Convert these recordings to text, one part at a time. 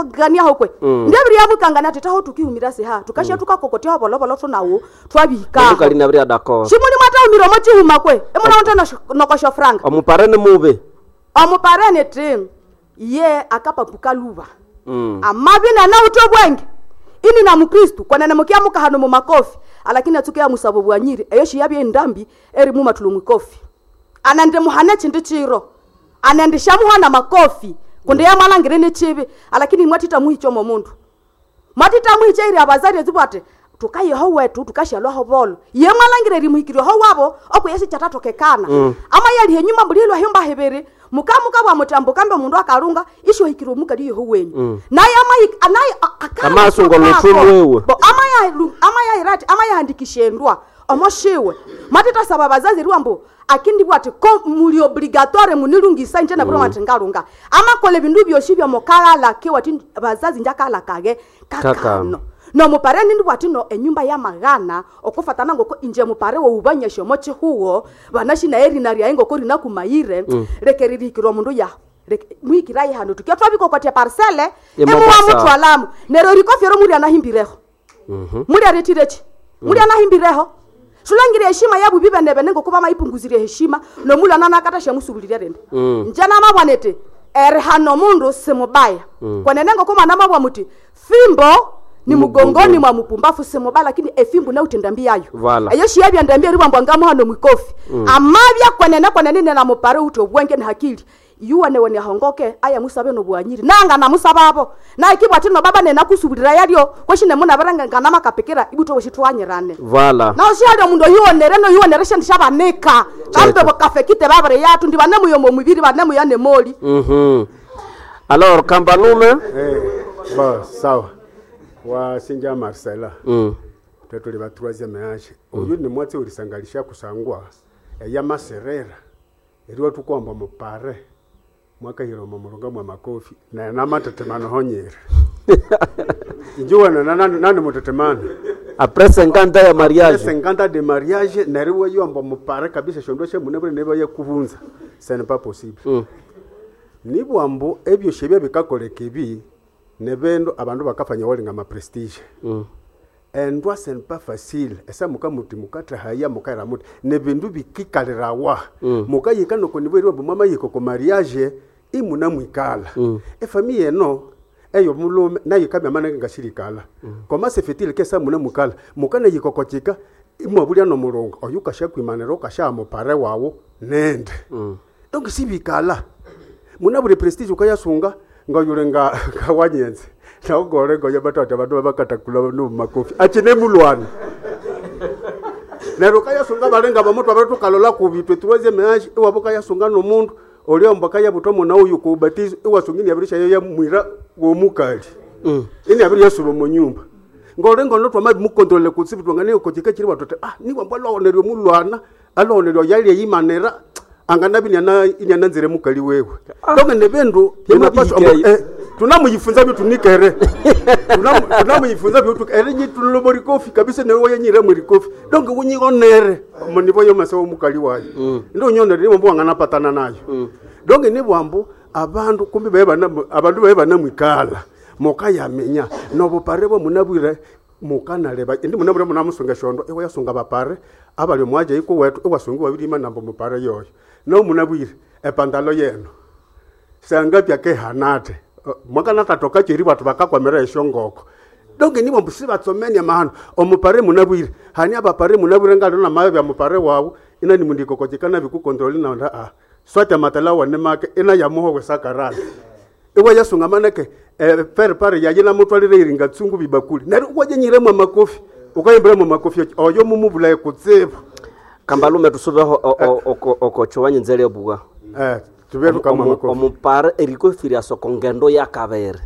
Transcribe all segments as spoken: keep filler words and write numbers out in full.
mukangania kwe ndebiri yamukangania titaho tukihumira siha tukashia tukakokotya bolovolo tunawo twabika Mukali nabiri d'accord. shimuli mwataumira omo chihuma kwe emuna nokosho franga Omupare ni mubi. omuparene ti ye akapapuka luva Mm. amavi nanauto bwenge ini na mukristu kwanene mukiamuka hano mumakofi alakini atsuke ya musabo bwanyiri eyo shiyabye ndambi eri mumatulo mwikofi anandi muhane chindi chiro anandi shamuhana makofi kundi yamwalangire ni chibi alakini mwatita muhichomo mundu mwatita muhicha iri abazari ezibu ati tukayeho wetu tukashalwaho bolo ye mwalangire rimuhikirweho wabo okuyesi chatatokekana mm. ama yalihe nyuma mbulilwa humba hebere mukamuka bwa mutambo kambe mundu akalunga isho hikirwe mukali yeho wenyu mm. naye ama naye Amaso ngoluthu lwewe. bo ama ya ama ya irati ama yahandikishendwa omoshiwe matita saba bazazi riwambo akindi bwati ko muli obligatoire munilungisa nje nabiro mm. ngalunga amakole bindu byoshi bya mukagala ke wati bazazi njakala kage Kakano. kakano no mupare nindi bwati no enyumba ya magana okufatana ngoko inje mupare woubanyasha omo chihuo banashi naye rina ryaye ngoko rina kumayire mm. leke ririkirwa mundu ya Leke- mwikiraye hano tukia twabikokotia parcele Emo emuwa basa. mutwalamu neryo rikofyero muri anahimbireho Mhm. muri aretirechi muri anahimbireho sulangire heshima yabu bibenebene ngokuba maipunguzirie heshima nomulwana nakata shamusubuliria rende Mm. njana mabwanete eri hano mundu simubaya mm. kwanene ngokuma namabwa muti fimbo ni mugongoni mwa mupumbafu simubaya lakini efimbo nautenda mbi yayo Vala. eyo shiyabya ndambi eriwambwa ngamuhano mwikofi mm. amabya kwenene kwenene nena mupare uti obwenge ni hakili yuwane wene ahongoke aya musabe nobwanyiri nanga namusababo naikibwa tino baba nenakusubulira yalyo kweshine munabaranga nganamakapikira ibuto weshitwanyirane Vala. naho shihali omundu oyuwonere noyuwonere shindu shabanika kambe bukafekite babere yatu ndi banemuyomo mubiri banemuya nemoli Mhm. Alors Kambalume. Eh, bo sawa wasinja Marcela Mm. tetuli ba troisième âge oyu ni mwatsi ulisangalisha kusangwa eya maserera eriwa tukwamba mupare mwakahira omo mulunga mwa makofi naye namatetemano honyere injiwana nani mutetemano Après cinquante ans ya mariage. cinquante de mariage neriwa yomba mupare kabisa shondo shemunebure neba yekubunza ce n'est pas possible Mm. nibwambu ebyo shebya bikakoleka ebi nebindu abandu bakafanya walinga ma prestige Mm. endwa ce n'est pas facile esa muka muti mukathahaya mukaira muti nebindu bikikalirawa mm. mukayika noko nibweriwa mbu mwamayika ko mariage imuna mwikala mm. efamiye eno eyo mulume nayo kamya manenge ngashirikala mm. koma se fait-il que sa muna mukala mukana yikokochika imwabulya nomulunga oyu kashakwimanira ukashaa mupare wawu nende mm. donc sibikala muna buli prestige ukayasunga ngayule nga ngawanyenze naugole ngoya batata bandu babakatakula no makofi achine mulwana neryo kayasunga balenga bamutu abatu kalola kubitwe troisième âge iwabo kayasunga nomundu oliomba kayabuta mwana uyu kubatizo iwasungini yabirisha yo yamwira womukali mm. ini yabiri yasuba mu nyumba ngole ngono twama mukontrole kutsibu twangane kochika chiri watote ah niwa mbwalwaoneryo mulwana alwaoneryo yali yimanera anganabi nyana inyana nzire mukali wewe ah. donc nebendu Yamabihike inapaswa eh, tunamuyifunza bitunikere Tunamu- tunamuyifunza byo ere nyi kofi kabisa ne woye nyire muri kofi donc wunyionere munivo yo masewo mukali wayo ndo nyonere nibo mbwa patana nayo donc ni bwambu abandu kumbi bae bana abandu bae banamwikala mukayamenya nobupare bwo munabwire mukanaleba indi munabwire munamusunga shondo iwe yasunga bapare abali mwaje iko wetu iwasunga wabirima nambo mupare yoyo no munabwire epandalo yeno sangapya ke hanate mwakanatatoka cheri batu bakakwamira eshongoko donge nibo mbusi batsomenia mahano omupare munabwire hani abapare munabwire ngalo na mayo bya mupare wawu ina ni mundikokochekana bikukontroli na nda a swata matala wane make ina yamuho wesakarala iwe yasunga maneke eh, pere pare yaye namutwalire iringa tsungu bibakuli nari uwajenyire mwa makofi ukayimbira mwa makofi oyo mumubulaye kutsibu Kambalume tusubeho okocho wanyenzele obuga. eh tuberu kama makofi Omupare erikofi lya soko ngendo ya kabere.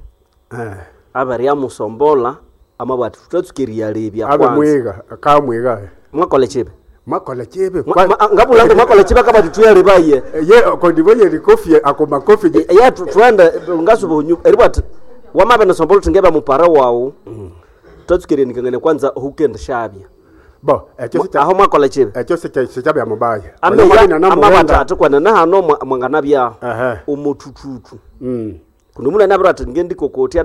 eh Abere yamusombola amabwati tutatsukiria lebya abe kwanza. mwiga kamwiga Mwakola chibe. makola chebe Mwa- ma- Ngabula ngo mwakola chibe kabati tuyalebaye. ye kondibonye likofi ako makofi je ya twende ngasuba unyu eribwati wamabe nesombola tingeba mupare wawu tatsukiria nikangane kwanza hukende shabya. bo ekyo sikya Aho mwakola chibe. ekyo sikya sikyabya mubaya Amabwati ati kwanene hano mwa- mwanganabyaho Ehe. omutututu mm kundi munene abiri ati ngendikokotia